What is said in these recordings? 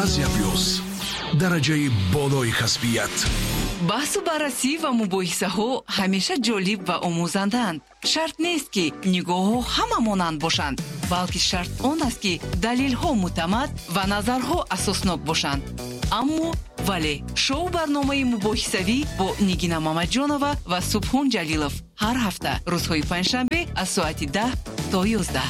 Азия Плюс, дараҷаи болои касбият. Баҳсу баррасӣ ва мубоҳисаҳо ҳамеша ҷолиб ва омӯзандаанд. Шарт нест, ки нигоҳҳо ҳама монанд бошанд, балки шарт он аст, ки далелҳо мӯътамад ва назарҳо асоснок бошанд. Аммо вале шоу барномаи мубоҳисавӣ бо Нигина Мамаҷонова ва Субҳон Ҷалилов ҳар ҳафта рӯзҳои панҷшанбе аз соати 10 то 11.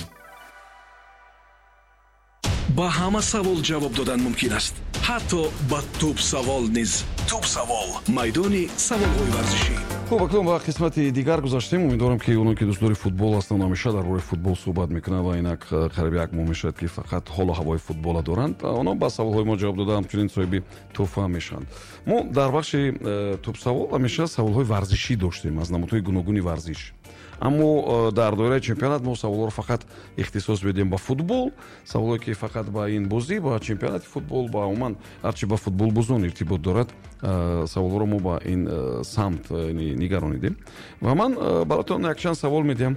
Ба ҳама савол ҷавоб додан мумкин аст, ҳатто ба тӯбсавол низ. Тӯбсавол, майдони саволҳои варзишӣ. Хуб, акнун ба қисмати дигар гузаштем. Умедворам, ки оно ки дӯстдори футбол ҳастанд, ҳамеша дар бораи футбол суҳбат мекунанд ва инак қариби як моҳ мешавад, ки фақат ҳолу ҳавои футбола доранд, онҳо ба саволҳои мо ҷавоб дода, ҳамчунин соҳиби тӯҳфа мешаванд. Мо дар бахши тӯбсавол ҳамеша саволҳои варзишӣ доштем аз намудҳои гуногуни варзиш, аммо дар доираи чемпионат мо саволҳоро фақат ихтисос медиҳем ба футбол, саволҳое ки фақат ба ин бозӣ, ба чемпионати футбол, ба умуман ҳарчи ба футболбозон иртибот дорад, саволҳоро мо ба ин самт нигаронидем. Ва ман баротон якчанд савол медиҳам.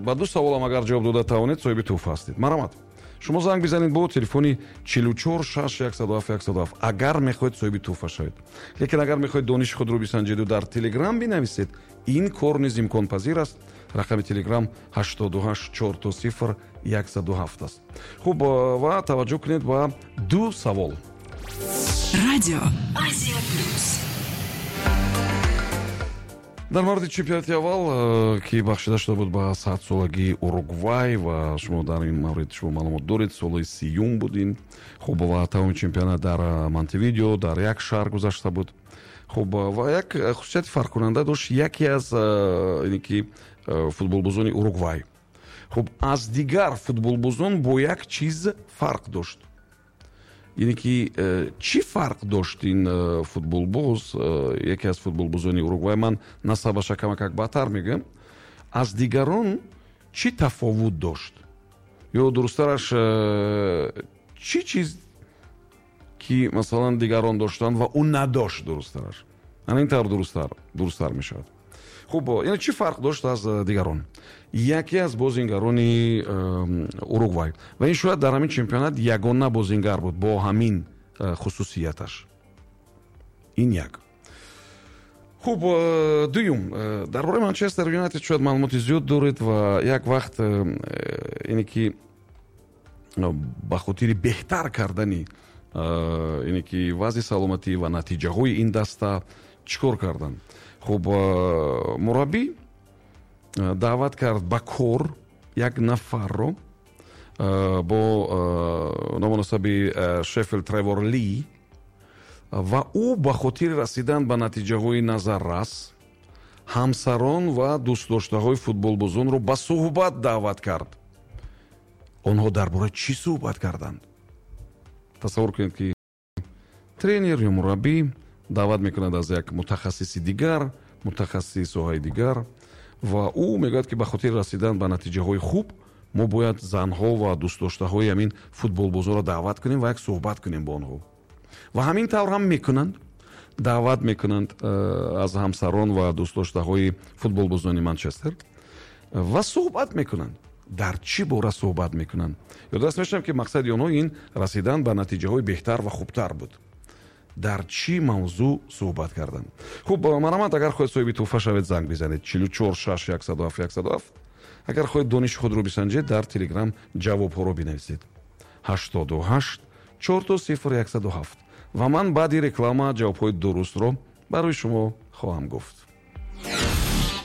Ба ду саволам агар ҷавоб дода тавонед, соҳиби тӯҳфа ҳастед. Марҳамат, шумо занг бизанед бо телефони 44 6 107 107, агар мехоҳед соҳиби тӯҳфа шавед. Лекин агар мехоҳед дониши худро бисанҷеду дар Телеграм бинависед, ин кор низ имконпазир аст. Рақами Телеграм 88 000 107 аст. Хуб, ва таваҷҷӯҳ кунед ба ду савол. Радио Азия Плюс. Дар мавриди чемпионати аввал, ки бахшида шуда буд ба 100-солагии Уругвай, ва шумо дар ин маврид шумо маълумот доред, соли 30-юм буд ин. Хуб, ва тамоми чемпионат дар Монтевидео, дар як шаҳр гузашта буд. Хуб, ва як хусусияти фарқкунанда дошт яке аз ине ки футболбозони Уругвай. Хуб, аз дигар футболбозон бо як чиз фарқ дошт. Яъне ки чӣ фарқ дошт ин футболбоз, яке аз футболбозони Уругвай, ман насабаша камакак баъдтар мегӯям, аз дигарон чӣ тафовут дошт, ё дурусттараш, чӣ чиз ки масалан дигарон доштанд ва ӯ надошт, дурусттараш ана ин тавр дурусттар мешавад. Хуб, яъне чӣ фарқ дошт аз дигарон яке аз бозингарони Уругвай? Ва ин шояд дар ҳамин чемпионат ягона бозингар буд бо ҳамин хусусияташ. Ин як. Хуб, дуюм, дар бораи Манчестер Юнайтед шояд маълумоти зиёд доред. Ва як вақт ине ки ба хотири беҳтар кардани ине ки вазъи саломатӣ ва натиҷаҳои ин даста чӣ кор карданд? Хуб, мураббӣ даъват кард ба кор як нафарро бо ному насаби Шеффилд Тревор Ли, ва ӯ ба хотири расидан ба натиҷаҳои назаррас ҳамсарон ва дӯстдоштаҳои футболбозонро ба суҳбат даъват кард. Онҳо дар бораи чӣ суҳбат карданд? Тасаввур кунед, ки тренер ё мураббӣ даъват мекунад аз як мутахассиси дигар, мутахассиси соҳаи дигар, ва ӯ мегӯяд, ки ба хотири расидан ба натиҷаҳои хуб мо бояд занҳо ва дӯстдоштаҳои ҳамин футболбозонро даъват кунем ва як суҳбат кунем бо онҳо. Ва ҳамин тавр ҳам мекунанд, даъват мекунанд аз ҳамсарон ва дӯстдоштаҳои футболбозони Манчестер ва суҳбат мекунанд. Дар чӣ бора суҳбат мекунанд? Ёдрас мешавам, ки мақсади онҳо ин расидан ба натиҷаҳои беҳтар ва хубтар буд. Дар чӣ мавзӯъ суҳбат карданд? Хуб, марҳамат, агар хоҳед соҳиби тӯҳфа шавед, занг бизанед 44 6 107 107. Агар хоҳед дониши худро бисанҷед, дар Телеграм ҷавобҳоро бинависед 88 4 0 107, ва ман баъди реклама ҷавобҳои дурустро барои шумо хоҳам гуфт.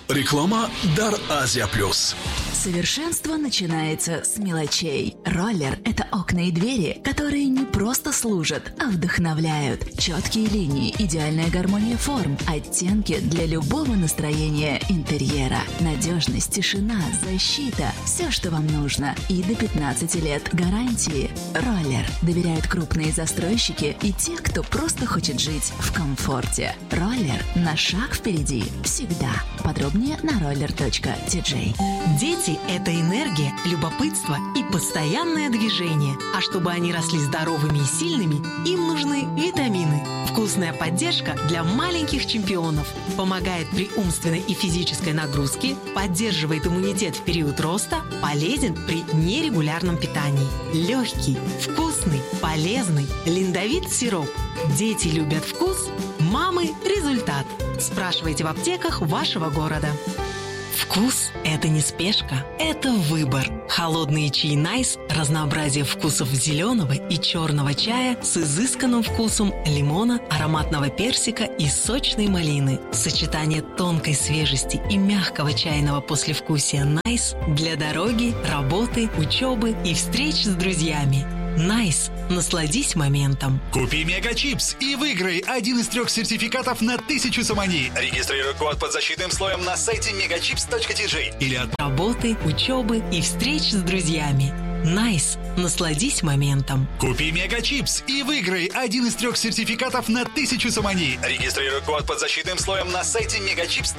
Реклама дар Азия Плюс. Совершенство начинается с мелочей. Роллер – это окна и двери, которые не просто служат, а вдохновляют. Четкие линии, идеальная гармония форм, оттенки для любого настроения интерьера. Надежность, тишина, защита – все, что вам нужно. И до 15 лет гарантии. Роллер доверяют крупные застройщики и те, кто просто хочет жить в комфорте. Роллер на шаг впереди всегда. Подробнее на roller.tj. Дети Дети – это энергия, любопытство и постоянное движение. А чтобы они росли здоровыми и сильными, им нужны витамины. Вкусная поддержка для маленьких чемпионов. Помогает при умственной и физической нагрузке, поддерживает иммунитет в период роста, полезен при нерегулярном питании. Легкий, вкусный, полезный Линдовит сироп. Дети любят вкус, мамы – результат. Спрашивайте в аптеках вашего города. Вкус – это не спешка, это выбор. Холодные чаи «Найс» – разнообразие вкусов зеленого и черного чая с изысканным вкусом лимона, ароматного персика и сочной малины. Сочетание тонкой свежести и мягкого чайного послевкусия «Найс» для дороги, работы, учебы и встреч с друзьями. «Найс». Насладись моментом. Купи Мегачипс и выиграй один из трех сертификатов на 1000 сомони. Регистрируй код под защитным слоем на сайте megachips.tj или от Работы, учебы и встреч с друзьями. «Найс». Насладись моментом. Купи Мегачипс и выиграй один из трех сертификатов на 1000 сомони. Регистрируй код под защитным слоем на сайте megachips.